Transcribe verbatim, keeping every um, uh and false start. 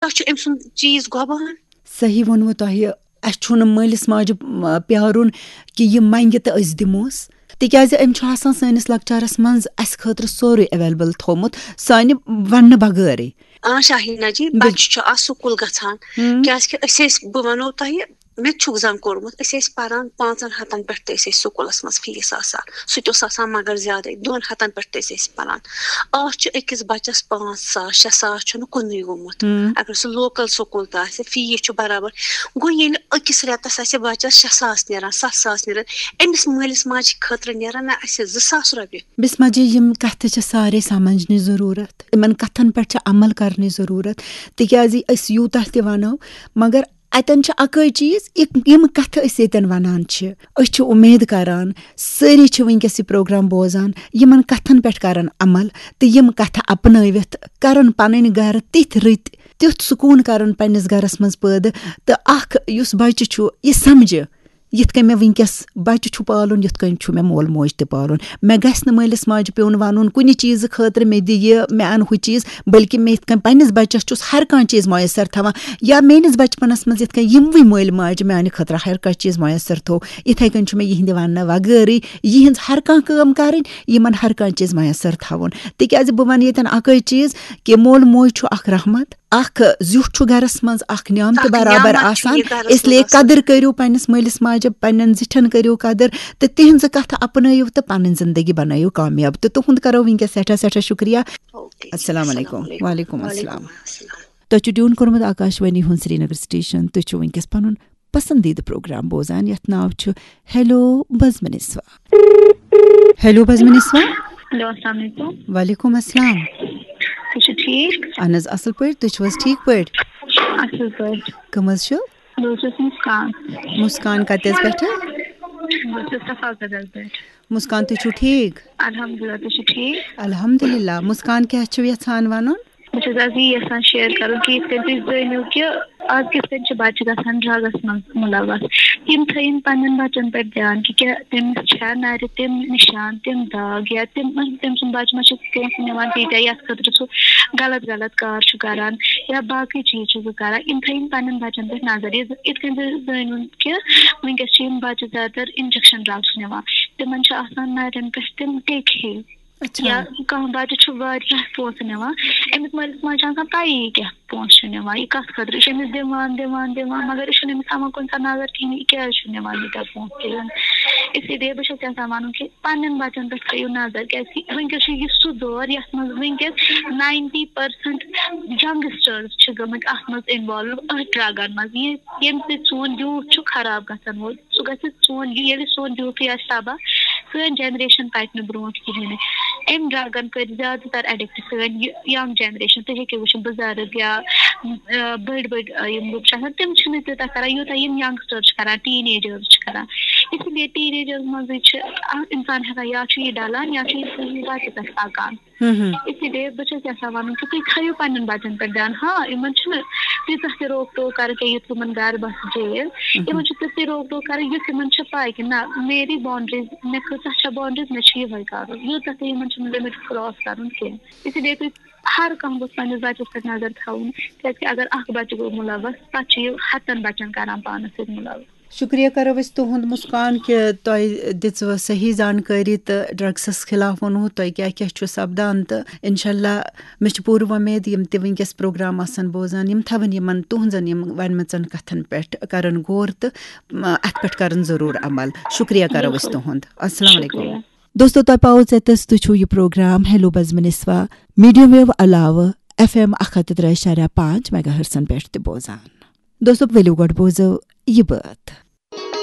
تۄہہِ چھُ أمۍ سُنٛد چیٖز گۄبان۔ صحیح ووٚنوٕ تۄہہِ۔ اَسہِ چھُنہٕ مٲلِس ماجہِ، م، پیارُن کہِ یہِ منٛگہِ تہٕ أسۍ دِموس، تِکیٛازِ أمۍ چھُ آسان سٲنِس لۄکچارَس منٛز اَسہِ خٲطرٕ سورُے available تھوٚومُت سانہِ وَننہٕ بغٲرٕے۔ آ، شاہیٖنا جی، بِل- بَچہٕ چھُ آز سکوٗل گژھان۔ ہم۔ کیٛازِ کہِ أسۍ ٲسۍ، بہٕ وَنو تۄہہِ، مےٚ تہِ چھُکھ زَن کوٚرمُت، أسۍ ٲسۍ پَران پانٛژَن ہَتَن پٮ۪ٹھ تہِ ٲسۍ أسۍ سکوٗلَس منٛز فیٖس آسان، سُہ تہِ اوس آسان مگر زیادَے، دۄن ہَتَن پٮ۪ٹھ تہِ ٲسۍ أسۍ پَران۔ آز چھُ أکِس بَچَس پانٛژھ ساس، شےٚ ساس چھُنہٕ کُنُے گوٚمُت۔ ہم۔ اگر سُہ local سکوٗل تہِ آسہِ، فیٖس چھُ برابر۔ گوٚو ییٚلہِ أکِس رٮ۪تَس آسہِ بَچَس شےٚ ساس نیران، سَتھ ساس نیران، أمِس مٲلِس ماجہِ خٲطرٕ نیران نہ اَسہِ زٕ ساس رۄپیہِ۔ بِسما جی، یِم کَتھٕ چھِ سارے سَمجھنٕچ ضروٗرت، یِمَن کَتھَن پٮ۪ٹھ چھِ عمل کَرنٕچ ضروٗرت، تِکیٛازِ أسۍ یوٗتاہ تہِ وَنو، مگر اَتٮ۪ن چھِ اَکٲے چیٖز، یہِ، یِم کَتھٕ أسۍ ییٚتٮ۪ن وَنان چھِ، أسۍ چھِ اُمید کَران، سٲری چھِ وٕنکیٚس یہِ پروگرام بوزان، یِمَن کَتھَن پٮ۪ٹھ کَرَن عمل تہٕ یِم کَتھٕ اَپنٲوِتھ کَرَن پَنٕنۍ گَرٕ تِتھۍ رٕتۍ، تیُتھ سکوٗن کَرَن پنٛنِس گَرَس منٛز پٲدٕ، تہٕ اَکھ یُس بَچہٕ چھُ، یہِ سَمجھِ، یِتھ کٔنۍ مےٚ وٕنکیٚس بَچہٕ چھُ پالُن، یِتھ کٔنۍ چھُ مےٚ مول موج تہِ پالُن۔ مےٚ گژھِ نہٕ مٲلِس ماجہِ پیوٚن وَنُن کُنہِ چیٖزٕ خٲطرٕ، مےٚ دِ یہِ، مےٚ اَن ہُہ چیٖز، بلکہِ مےٚ یِتھ کٔنۍ پنٛنِس بَچَس چھُس ہر کانٛہہ چیٖز میسر تھاوان، یا میٛٲنِس بَچپَنَس منٛز یِتھ کٔنۍ یِموٕے مٲلۍ ماجہِ میٛانہِ خٲطرٕ ہر کانٛہہ چیٖز میسر تھوٚو، یِتھَے کٔنۍ چھُ مےٚ یِہِنٛدِ وَننہٕ وغٲرٕے یِہِنٛز ہر کانٛہہ کٲم کَرٕنۍ، یِمَن ہر کانٛہہ چیٖز میسر تھاوُن۔ تِکیٛازِ بہٕ وَنہٕ ییٚتٮ۪ن اَکٲے چیٖز کہِ مول موج چھُ اَکھ رحمت، اَکھ زیُٹھ چھُ گَرَس منٛز اَکھ نعمت اَکھ برابر نعمت چھُ آسان۔ یہِ گَرَس اس لیے منٛز آسان۔ قدٕر کٔرِو پنٛنِس مٲلِس ماجہِ، پنٛنٮ۪ن زِٹھٮ۪ن کٔرِو قدٕر تہٕ تِہِنٛزٕ کَتھٕ اَپنٲیِو تہٕ پَنٕنۍ زِندگی بَنٲیِو کامیاب۔ تہٕ تُہُنٛد کَرو وٕنکیٚس سٮ۪ٹھاہ سٮ۪ٹھاہ شُکریہ۔ اوکے۔ السلام علیکم۔ السلام علیکم۔ وعلیکم السلام۔ وعلیکم السلام۔ تۄہہِ چھُ ٹیوٗن کوٚرمُت آکاشوانی ہُنٛد سرینگر سٹیشن۔ تُہۍ چھِو وٕنکیٚس پَنُن پسندیدٕ پروگرام بوزان، یتھ ناو چھُ ہیلو بزمِ نسواں۔ ہیلو بزمِ نسواں۔ ہیلو، السلام علیکم۔ وعلیکم السلام۔ تُہۍ چھِو ٹھیٖک؟ اہن حظ، اصل پٲٹھۍ۔ تُہۍ چھِو حظ ٹھیٖک پٲٹھۍ؟ اصل پٲٹھۍ۔ کٕم حظ چھِو؟ بہٕ حظ چھَس مسکان۔ مسکان کتہِ حظ پٮ۪ٹھٕ؟ بہٕ حظ چھَس صفا قدل پٮ۪ٹھ۔ مسکان، تُہۍ چھِو ٹھیٖک؟ الحمدللہ، تُہۍ چھِو ٹھیٖک؟ الحمدللہ۔ مسکان، کیٛاہ چھِو یژھان ونُن؟ بہٕ چھَس آز یی یَژھان شِیر کَرُن کہِ یِتھ کٔنۍ تُہۍ زٲنِو کہِ آز کِتھ کٔنۍ چھِ بَچہٕ گژھان ڈرٛگَس منٛز مُلَوَث۔ یِم تھٲیِن پنٛنٮ۪ن بَچَن پٮ۪ٹھ دھیان کہِ کیٛاہ تٔمِس چھا نَرِ تِم نِشان، تِم داغ یا تِم، تٔمۍ سُنٛد بَچہٕ ما چھِ کٲنٛسہِ نِوان تیٖتیٛاہ یَتھ خٲطرٕ سُہ غلط غلط کار چھُ کَران یا باقٕے چیٖز چھُ سُہ کَران۔ یِم تھٲیِن پنٛنٮ۪ن بَچَن پٮ۪ٹھ نظر۔ یہِ یِتھ کٔنۍ تُہۍ زٲنِو کہِ وٕنکٮ۪س چھِ یِم بَچہٕ زیادٕ تر injection drugs نِوان۔ تِمَن چھِ آسان نَرٮ۪ن پٮ۪ٹھ تِم ٹیٚکۍ ہِوۍ۔ اچھا۔ یا کانٛہہ بَچہٕ چھُ واریاہ پونٛسہٕ نِوان، أمِس مٲلِس ماجہِ چھِ آسان پَیی یہِ کیٛاہ پونٛسہٕ چھُ نِوان، یہِ کَتھ خٲطرٕ، یہِ چھُ أمِس دِوان، دِوان، دِوان، مگر یہِ چھُنہٕ أمِس تھاوان کُنہِ ساتہٕ نظر کِہیٖنۍ، یہِ کیٛازِ چھُ نِوان ییٖتیٛاہ پونٛسہٕ تِمَن۔ اسی لیے بہٕ چھَس یَژھان وَنُن کہِ پنٛنٮ۪ن بَچَن پٮ۪ٹھ تھٲیِو نظر، کیٛازِکہِ وٕنکٮ۪س چھُ یہِ سُہ دور یَتھ منٛز وٕنکٮ۪س ninety percent youngsters چھِ گٔمٕتۍ اَتھ منٛز involve، أتھۍ ڈرٛگَن منٛز، یہِ، ییٚمہِ سۭتۍ سون youth چھُ خراب گژھان وول۔ سُہ گژھِ سون، یہِ ییٚلہِ سون youthٕے آسہِ تباہ، سٲنۍ generation پَکہِ نہٕ برونٛٹھ کِہیٖنۍ نہٕ۔ أمۍ ڈرٛگَن کٔرۍ زیادٕ تر addict سٲنۍ یہِ young generation۔ تُہۍ ہیٚکِو وٕچھِتھ، بُزرٕگ یا، آ، بٔڑۍ بٔڑۍ، آ، یِم لُکھ چھِ آسان، تِم چھِنہٕ تیوٗتاہ کران، یوٗتاہ یِم youngsters چھِ کران، teenagers چھِ کران۔ اسی لیے teenagers منٛزٕے چھِ اکھ اِنسان ہٮ۪کان، یا چھُ یہِ ڈلان، یا چھُ یہِ صحیح وَتہِ پٮ۪ٹھ پَکان۔ ہم ہم۔ اسی لیے بہٕ چھَس یَژھان وَنُن کہِ تُہۍ تھٲیِو پنٛنٮ۪ن بَچَن پٮ۪ٹھ دھیان۔ ہاں، یِمَن چھُنہٕ تیٖژاہ تہِ روک ٹوک کَرٕنۍ کینٛہہ یُتھ یِمَن گَرٕ بَسہٕ جیل۔ مہم۔ یِمَن چھِ تِژھ تہِ روک ٹوک کَرٕنۍ یُتھ یِمَن چھِ پَے کہِ نہ، میری boundaries، مےٚ کۭژاہ چھےٚ boundaries، مےٚ چھِ یِہوٚے کَرُن۔ یوٗتاہ تہِ یِمَن چھُنہٕ limit cross کَرُن کینٛہہ۔ اسی لیے تُہۍ ہر کانٛہہ گوٚژھ پنٛنِس بَچَس پٮ۪ٹھ نظر تھاوُن، کیٛازِکہِ اگر اَکھ بَچہٕ گوٚو مُلوث، پَتہٕ چھِ یہِ ہَتَن بَچَن کَران پانَس سۭتۍ مُلوث۔ شُکریہ کرو أسۍ تُہُنٛد، مسکان، کہِ تۄہہِ دِژوٕ صحیح زانکٲری تہٕ ڈرگسَس خلاف ووٚنوٕ تۄہہِ کیٛاہ کیٛاہ چھُ سپدان، تہٕ انشاءاللہ مےٚ چھِ پوٗرٕ وۄمید یِم تہِ وٕنکیٚس پروگرام آسَن بوزان، یِم تھاوَن یِمَن تُہٕنٛزَن یِم ؤنمٕژَن کَتھَن پٮ۪ٹھ، کَرَن غور تہٕ، م، اَتھ پٮ۪ٹھ کَرَن ضروٗر عمل۔ شُکریہ کرو أسۍ بِلکُل۔ تُہُنٛد۔ السلام علیکم۔ شُکریہ۔ دوستو، تۄہہِ پاوو ژےٚ تہٕ تُہۍ چھِو یہِ پروگرام ہیلو بزمِ نسواں میڈیم ویو علاوٕ ایف ایم اکھ ہتھ تہٕ ترٛےٚ اعشاریہ پانٛژھ میگا ہرٹزن پٮ۪ٹھ تہِ بوزان۔ دوستو، ؤلِو گۄڈٕ بوزو یہِ بٲتھ۔